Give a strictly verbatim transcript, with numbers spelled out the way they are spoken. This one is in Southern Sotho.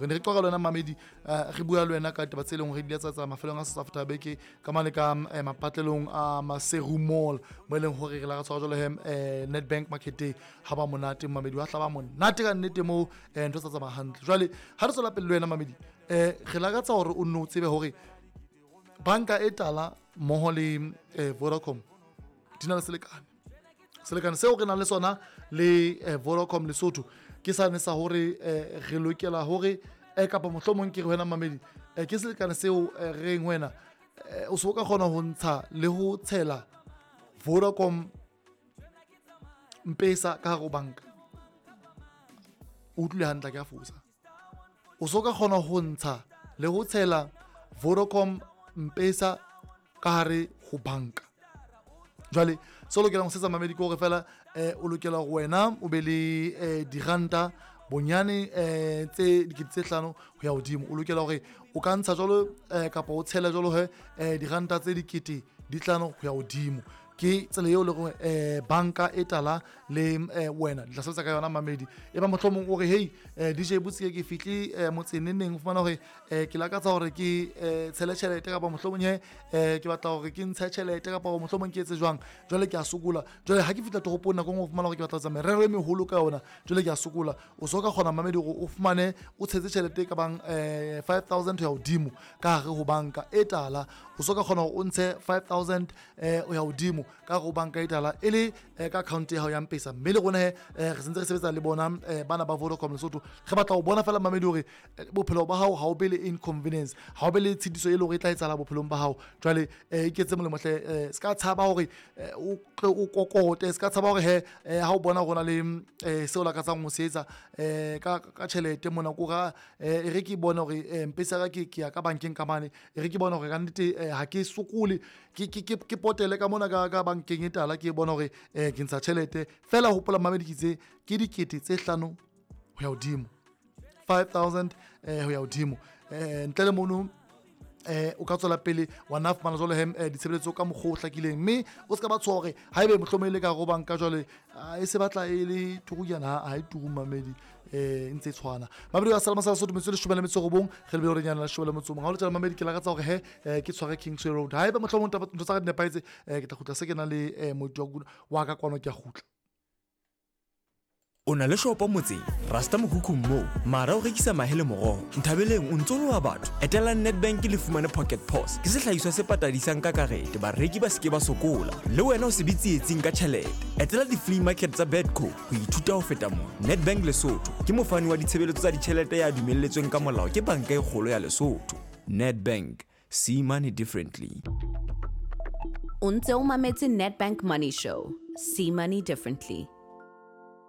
Re ne re qoqa le wena mamedi, eh, re bua le wena ka taba tse leng hore di a tsa mafelong a South Africa beke ka mane ka eh, mapatlelong a Maseru Mall, mo e leng hore re la re tshwara jwalo he eh, Nedbank Market ha ba monate mamedi, wa tla ba monate ka nnete moo, eh, ntho tsa tsamaya hantle. Jwale ha re tswela pele le wena mamedi, eh, re lakatsa hore o nno o tsebe hore banka e tala mmoho le eh, Vodacom di na le selekane. Selekane seo re nang le sona le eh, Vodacom Lesotho ke sane sa hore eh, re lokela hore eh, kapa mohlomong ke re wena mamedi, eh, ke selekane seo eh, re reng wena eh, o so ka kgona ho ntsha le ho tshela Vodacom Mpesa ka hare ho banka. O utlwile hantle, ke a fosa. O so ka kgona ho ntsha le ho tshela Vodacom Mpesa ka hare ho banka. Jwale se o lokelang ho setsa mamedi ke hore fela eh, o lokela hore wena o be le eh, diranta bonyane eh, tse dikete tse hlano ho ya hodimo. O lokela hore o ka ntsha jwalo eh, kapa o tshela jwalo he eh, diranta tse dikete di hlano ho ya hodimo. Ke tsela eo le hore eh, banka e tala le eh, wena di tla sebetsa ka yona mamedi. E ba mohlomong o re hey eh, D J Botsi ke fihle eh, motseng neng neng, o fumana hore eh, ke lakatsa hore ke eh, tshele tjhelete kapa mohlomong he eh, ke batla hore ke ntshe tjhelete kapa mohlomong ke etse jwang, jwale ke a sokola. Jwale ha ke fihla toropong nako e nngwe o fumana hore ke batla ho etsa merero e meholo ka yona, jwale ke a sokola. O so ka kgona mamedi hore o fumane o tshetse tjhelete e ka bang eh, five thousand ho ya hodimo ka hare ho banka e tala. O so ka kgona hore o ntshe five thousand eh, ho ya hodimo ka hare ho banka e tala e le, eh, ka account ya hao ya Mpesa. Mme le rona he, eh, re sentse re sebetsa le bona, eh, bana ba Vodacom Lesotho. Re batla ho bona fela mamedi hore, eh, bophelo ba hao ha o be le inconvenience, ha o be le tshitiso e leng hore e tla etsahala bophelong ba hao. Jwale, eh, iketse molemo hle, eh, se ka tshaba hore, eh, o tle o kokote, se ka tshaba hore he, eh, ha o bona hore ho na le, eh, seo o lakatsang ho se etsa, eh, ka, ka tjhelete mona, ko ra, eh, e re ke bone hore, eh, Mpesa ya ka ke, ke ya ka bankeng ka mane, e re ke bone hore ka nnete, eh, ha ke sokole, ke, ke, ke, ke potele ka mona ka, ka bankeng e tala, ke bone hore, eh, ke ntsha tjhelete. Fela hopola mamedi ke itse ke dikete tse hlano ho ya hodimo, five thousand, eh, ho ya hodimo. Eh, ntle le mono, eh, o ka tswela pele wa nna fumana jwalo he, eh, ditshebeletso ka mokgwa o hlakileng, mme o se ka ba tshoha hore haebe mohlomong e le ka hare ho banka jwale, ah, e se batla e le turuyana, ha, ha e turu mamedi, eh, e ntse e tshwana. Mamedi wa Salama sa Sotho, metsotso e leshome le metso e robong, re lebile hore nyana leshome le motso o mong. Ha o le tjena mamedi, ke lakatsa hore he, eh, ke tshware Kingsway Road. Haeba mohlomong taba, ntho tsa ka di nepahetse, eh, ke tla kgutla se ke na le, eh, moeti wa wa ka kwano, ke a kgutla. O na le shopo motseng, Rasta mokhukhung moo, mara o rekisa mahe le moroho. Nthabeleng o ntso loha batho. Etelang Nedbank le fumane Pocket Pause. Ke sehlahiswa se patadisang ka karete, bareki ba seke ba sokola. Le wena o se be tsietsing ka tjhelete. Etela di-flea market tsa Bedco ho ithuta ho feta mona. Nedbank Lesotho ke mofani wa ditshebeletso tsa ditjhelete ya dumelletsweng ka molao ke Banka e Kgolo ya Lesotho. Nedbank, see money differently. O ntse o mametse Nedbank Money Show. See money differently.